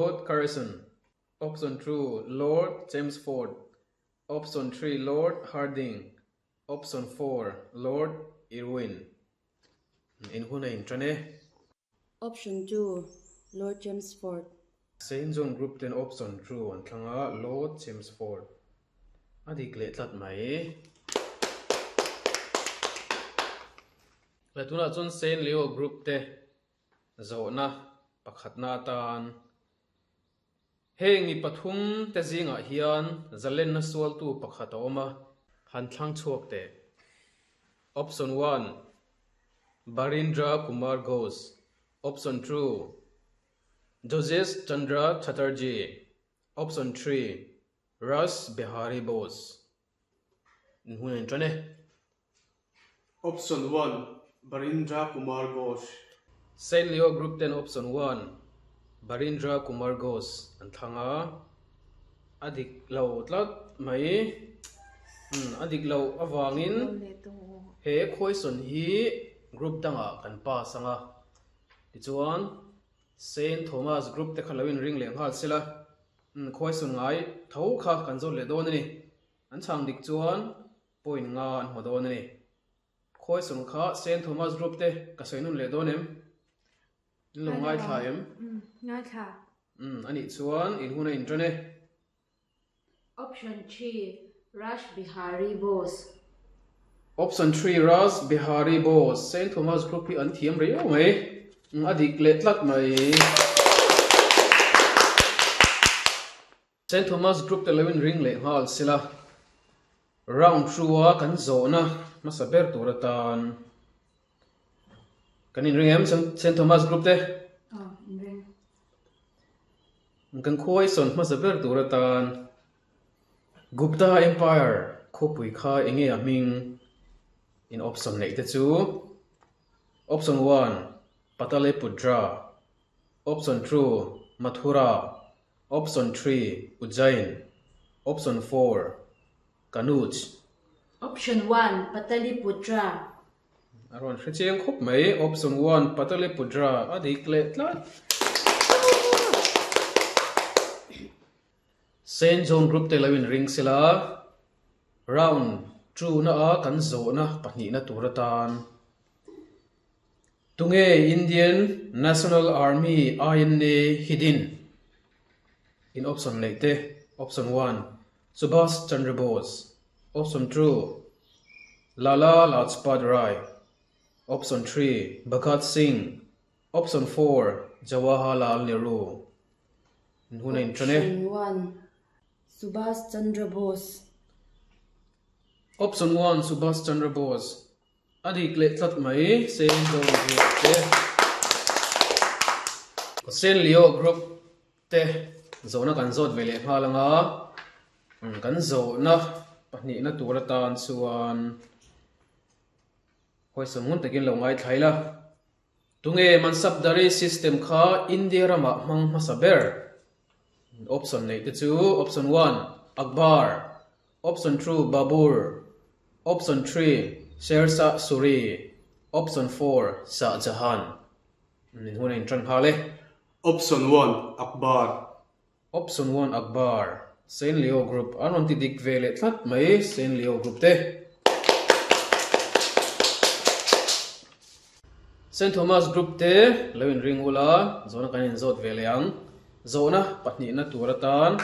Lord Curzon, Option 2, Lord Chelmsford, Option 3, Lord Hardinge, Option 4, Lord Irwin. In hun a inṭan e. Option 2, Lord Chelmsford. Saint John Group ten Option 2 an thlang a, Lord Chelmsford a dik leh tlat mai. Le tunah chuan Saint Leo Group te Zawhna pakhatna atan heng mi pathum te zingah hian zalenna sualtu pakhat a awm a, han thlang chhuak teh. Option one, Barindra Kumar Ghosh Option two, Jogesh Chandra Chatterjee Option three, Rash Behari Bose Hun a inṭan e. Option one, Barindra Kumar Ghosh. Saint Leo Group ten Option one, Barindra Kumar Ghosh an thlang a, a dik lo tlat mai. Umm a dik loh avangin he question hi group dangah kan pass ang a, tichuan Saint Thomas Group te kha lo inring leh nghal sela, umm question ngai tho kha kan zawt leh dawn a ni. An chhang dik chuan point nga an hmu dawn a ni. Khawisawn kha Saint Thomas Group te ka sawi nun leh dawn em? In lo ngaithla em? Umm, ngaithla. Umm, a nih chuan in hun a inṭan e. Option 3, Rash Bihari Bose. Option 3, Rash Bihari Bose. Saint Thomas Group hi an thiam riau mai. Umm, a dik leh tlat mai. Saint Thomas Group te lo in ring leh nghal sila, round two a kan zawhna hmasa ber tur atan kan inring em Saint Thomas Group te? Aw, inring. Kan khuaisawn hmasa ber tur atan Gupta Empire khawpui kha enge a hming in option neih te chu Option one, Pataliputra, Option two, Mathura, Option 3, Ujjain. Option 4, Kanuj. Option 1, Pataliputra. A rawn hre chiang khawp mai. Option 1, Pataliputra a dik leh tlat. Saint John Group te lo inring sela, round 2 na a kan zawhna pahnihna tur atan Tunge Indian National Army, INA, hi din? In option neih te, Option 1, Subhas Chandra Bose Option 2, Lala Lajpat Rai Option 3, Bhagat Singh Option 4, Jawaharlal Nehru In hun a inṭan e. Option 1, Subhas Chandra Bose. Option 1, Subhas Chandra Bose A dik leh tlat mai, Saint John Group te, Saint Leo Group te zawhna kan zawt ve leh nghal ang a, kan zawhna pahnihna tur atan chuan hawisawn ngun takin lo ngaithla ila. Tunge Mansabdari system kha India ramah hmang hmasa ber? Option neih te chu Option 1, Akbar. Option 2, Babur. Option 3, Sher Shah Suri. Option 4, Shah Jahan. Min hun a inṭan nghal e. Option 1, Akbar. Option 1, Akbar. Saint Leo Group an rawn ti dik ve leh tlat mai Saint Leo Group te. Saint Thomas Group te lo inring ula, zawhna kan inzawt ve leh ang. Zawhna pahnihna tur atan.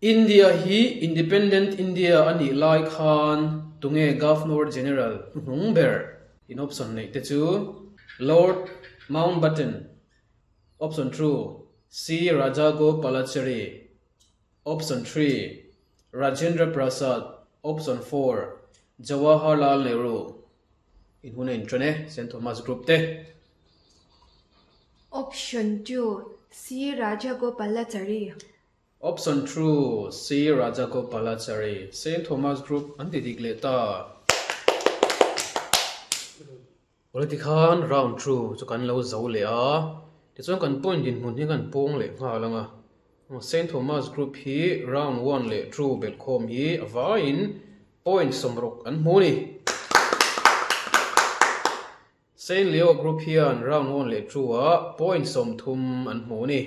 India hi Independent India a nih lai khan tunge Governor General hnuhnung ber? In option neih te chu Lord Mountbatten, Option 2, C Rajagopalachari, Option 3, Rajendra Prasad, Option 4, Jawaharlal Nehru. In hun a inṭan e, Saint Thomas Group te. Option 2, C Rajagopalachari. Option 2, C Rajagopalachari. Saint Thomas Group an ti dik leh ta. Awle tikhan round 2 chu kan lo zo leh a, tichuan kan point dinhmun hi kan pawng leh nghal ang a. Saint Thomas Group hi round 1 leh 2 belhkhawm hi a vaiin point 60 an hmu a ni. Saint Leo Group hian round 1 leh 2 ah point 30 an hmu a ni.